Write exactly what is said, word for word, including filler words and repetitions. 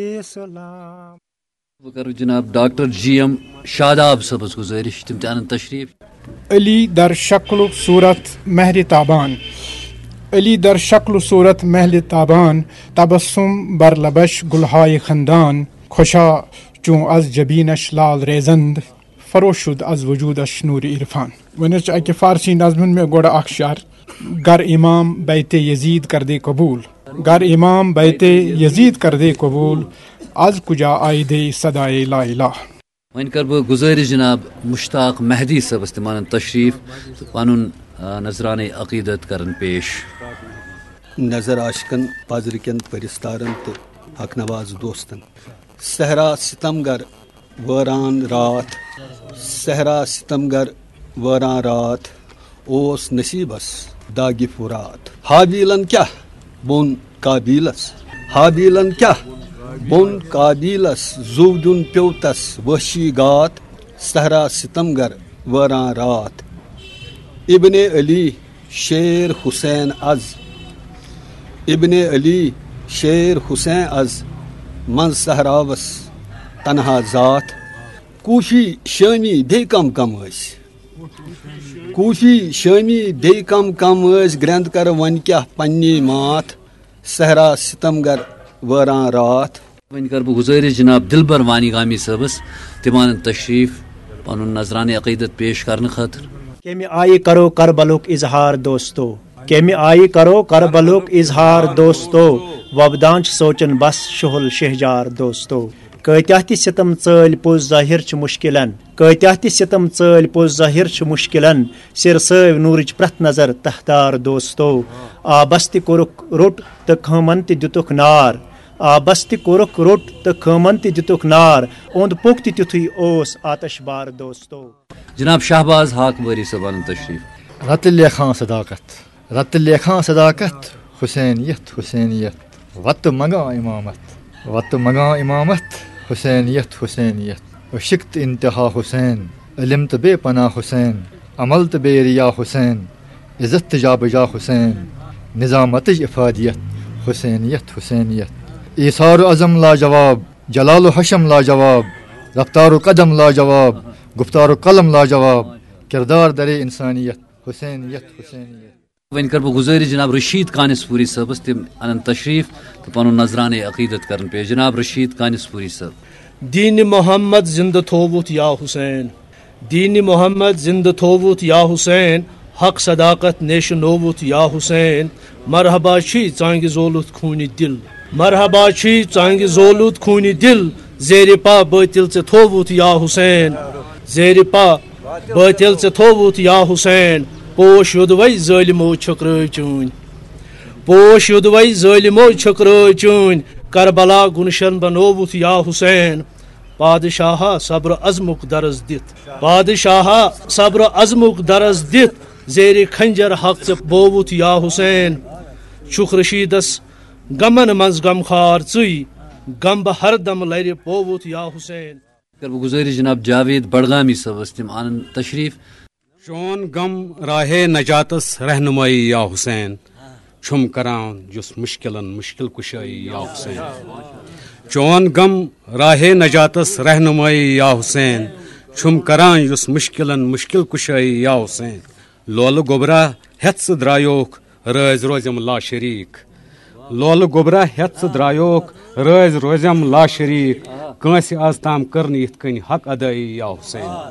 اسلام۔ بہٕ کرٕ جناب ڈاکٹر جی ایم شاداب صٲبس گُزٲرِش، تِم تہِ انن تشریف۔ علی در شکل و صورت مہر تابان، علی در شکل و صورت مہر تابان، تبسم بر لبش گلهای خندان، خوشا چون از جبینش لال ریزند، فروشد از وجودش نور عرفان۔ وۄنۍ حظ چھُ اَکہِ فارسی نظمہِ ہُنٛد مےٚ گۄڈٕ اکھ شعر۔ گر امام بیت یزید کردے قبول، گر امام بیت یزید کردے قبول، از کجا آیدے صدای لا الہ۔ وۄنۍ کرٕ بہٕ گُزٲرِش جناب مشتاق مہدی صٲبس، تِم انن تشریف تہٕ پنُن، آ، نذرانہ عقیدت کرن پیش۔ نظر عاشقن، پزرکن پرستارن تہٕ حق نواز دوستن۔ صحرا ستم گر وٲران راتھ، صحرا ستم گر وٲران راتھ، اوس نصیبس داغِ فرات۔ حابیلن کیاہ بوٚن قابیلس، حابیلن کیاہ بوٚن قابیلس، زُو دیُن پیوٚو تس وحشی گات۔ صحرا ستم گر وٲران راتھ، ابن علی شیر حسین از، ابن علی شیر حسین از، منٛز صحراوس تنہا ذات۔ کوفی شامی بیٚیہِ کم کم ٲسۍ، کوفی شامی بیٚیہِ کم کم ٲسۍ، گرٛٮ۪نٛد کر وۄنۍ کیٛاہ پننی ماتھ، صحرا ستم گر وٲران راتھ۔ وۄنۍ کرٕ بہٕ گُزٲرِش جناب دلبر وانی گامی صٲبس، تِم انن تشریف پنُن نذرانہ عقیدت پیش کرنہٕ خٲطرٕ۔ کمہِ آیہِ کرو کربلُک اظہار دوستو؟ کمہِ آیہِ کرو کربلُک اظہار دوستو؟ وۄبدان چھِ سونچن بس شُہُل شہجار دوستو۔ کۭتیاہ تہِ ستم ژٲلۍ پوٚز ظٲہر چھِ مشکلن، کۭتیاہ تہِ ستم ژٲلۍ پوٚز ظٲہر چھِ مشکلن، سِر سٲوۍ نوٗرٕچ پرٛٮ۪تھ نظر تہدار دوستو۔ آبس تہِ کوٚرُکھ روٚٹ تہٕ خٲمن تہِ دِتُکھ نار، آبس تہِ کوٚرُکھ روٚٹ تہٕ خٲمن تہِ دِتُکھ نار، اوٚنٛد پوٚک تہِ تیُتھُے اوس آتش بار دوستو۔ جناب شہباز حاق وٲری صٲب انن تشریف۔ رتہٕ لیکھان صداقت، رتہٕ لیکھان صداقت، حسینیت، حسینیت۔ وتہٕ منگان امامت، وتہٕ منگان امامت، حسینیت، حسینیت۔ عشق تہٕ انتہا حسین، علم تہٕ بے پناہ حسین، عمل تہٕ بے ریا حسین، عزت تہٕ جا بجا حسین، نظامتٕچ افادیت، حسینیت، حسینیت۔ ایثار و عزم لاجواب، جلال و حشم لاجواب، رفتار و قدم لاجواب، گفتار و قلم لاجواب، کردار درے انسانیت، حسینیت، حسینیت۔ وۄنۍ کرٕ بہٕ گُزٲرِش جناب رشید کانِس پوٗری صٲبس، تِم انن تشریف تہٕ پنُن نذرانہ عقیدت کرن پیش۔ جناب رشید کانِس پوٗری صٲب۔ دین محمد زندٕ تھووُتھ یا حسین، دین محمد زندٕ تھووُتھ یا حسین، حق صداقت نیشنووُتھ یا حسین۔ مرحبا چھی ژانگہِ زولُتھ خوٗنہِ دِل، مرحبا چھی ژانگہِ زولُتھ خوٗنہِ دِل، زیرِ پا بٲطِل ژےٚ تھووُتھ یا حسین، زیرِ پا بٲطِل ژےٚ تھووُتھ یا حسین، پوش یوٚدوَے ظٲلمو چھٔکرٲوۍ چٲنۍ۔ پوش یوٚدوَے ظٲلمو چھٔکرٲوۍ چٲنۍ، کربلا گُلشن بنووُتھ یا حسین۔ پادشاہا صبر عزمُک درس دِتھ، پادشاہا صبر عزمُک درس دِتھ، زیرِ خنجر حق ژےٚ بووُتھ یا حسین۔ چھُکھ رشیدس غمن منٛز غمخار ژٕے، غم بہٕ ہردم لرِ پووُتھ یا حسین۔ کر بہٕ گُزٲرِش جناب جاوید بڈگامی صٲبس، تِم انن تشریف۔ چون غم راہے نجاتس رہنمائی یا حسین، چھُم کران یُس مشکلن مشکل کشائی یا حسین۔ چون غم راہے نجاتس رہنمائی یا حسین، چھُم کران یُس مشکلن مشکل کشائی یا حسین۔ لولہٕ گوٚبرا ہٮ۪تھ ژٕ درٛایوکھ، رٲزۍ روزٮ۪م لاشریٖک۔ لولہٕ گوٚبرا ہٮ۪تھ ژٕ درٛایوکھ، رٲزۍ روزٮ۪م لاشریٖک۔ کٲنٛسہِ از تام کٔر نہٕ یِتھ کٔنۍ حق ادٲیی یا حسین۔